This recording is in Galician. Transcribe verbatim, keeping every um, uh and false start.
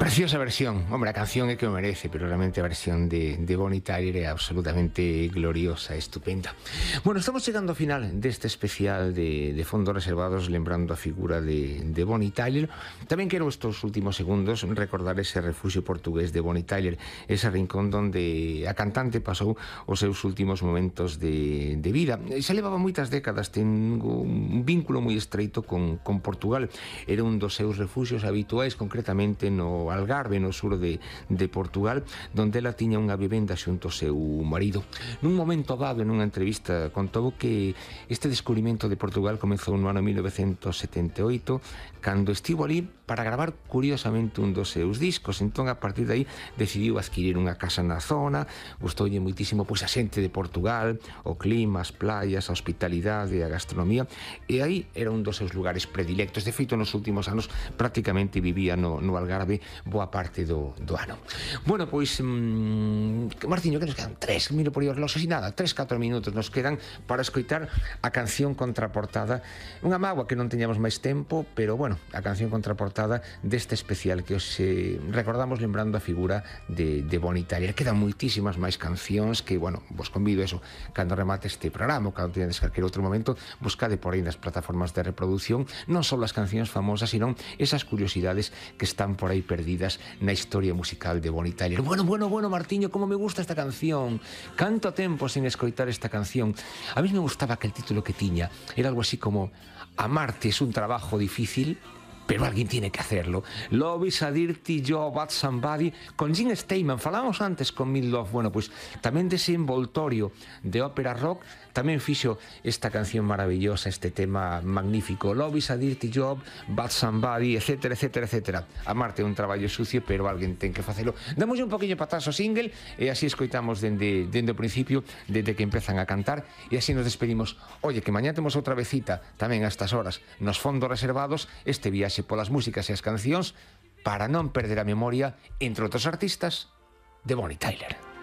Preciosa versión, hombre, a canción é que o merece, pero realmente a versión de, de Bonnie Tyler é absolutamente gloriosa, estupenda. Bueno, estamos chegando ao final deste especial de, de fondos reservados, lembrando a figura de, de Bonnie Tyler. Tamén quero estes últimos segundos recordar ese refugio portugués de Bonnie Tyler, ese rincón donde a cantante pasou os seus últimos momentos de, de vida. Se levaba moitas décadas, tengo un vínculo moi estreito con, con Portugal. Era un dos seus refugios habituais, concretamente no Algarve, no sur de, de Portugal, donde ela tiña unha vivenda xunto ao seu marido. Nun momento dado, nunha entrevista, contou que este descubrimento de Portugal comezou no ano mil novecentos setenta e oito, cando estivo ali para gravar curiosamente un dos seus discos. Entón, a partir de aí, decidiu adquirir unha casa na zona. Gustoulle moitísimo pois a xente de Portugal, o clima, as playas, a hospitalidade, a gastronomía, e aí era un dos seus lugares predilectos. De feito, nos últimos anos prácticamente vivía no, no Algarve boa parte do, do ano. Bueno, pois mmm, Martiño, que nos quedan? Tres, miro por aí os reloxos e nada, tres, catro minutos nos quedan para escoitar a canción contraportada. Unha mágoa que non teñamos máis tempo, pero bueno, a canción contraportada deste especial que os eh, recordamos lembrando a figura de, de Bonnie Tyler. Quedan moitísimas máis cancións que, bueno, vos convido eso, cando remate este programa, cando teñades calquer outro momento, buscade por aí nas plataformas de reproducción non só as cancións famosas, sino esas curiosidades que están por aí perdidas na historia musical de Bonnie Tyler. Bueno, bueno, bueno, Martiño, como me gusta esta canción. Canto tempo sen escoitar esta canción. A mí me gustaba que el título que tiña era algo así como Amarte es un trabajo difícil, pero alguien tiene que hacerlo. Love is a dirty job at somebody, con Gene Steinman. Falamos antes con Mid Love. Bueno, pues tamén dese envoltorio de ópera rock tamén fixo esta canción maravillosa, este tema magnífico. Love is a dirty job, but somebody, etcétera, etcétera, etcétera. Amarte é un traballo sucio, pero alguén ten que facelo. Damos un poquinho para atrás o single e así escoitamos dende, dende o principio, desde que empezan a cantar, e así nos despedimos. Oye, que mañá temos outra vecita tamén a estas horas nos fondos reservados, este viaxe polas músicas e as cancións para non perder a memoria, entre outros artistas, de Bonnie Tyler.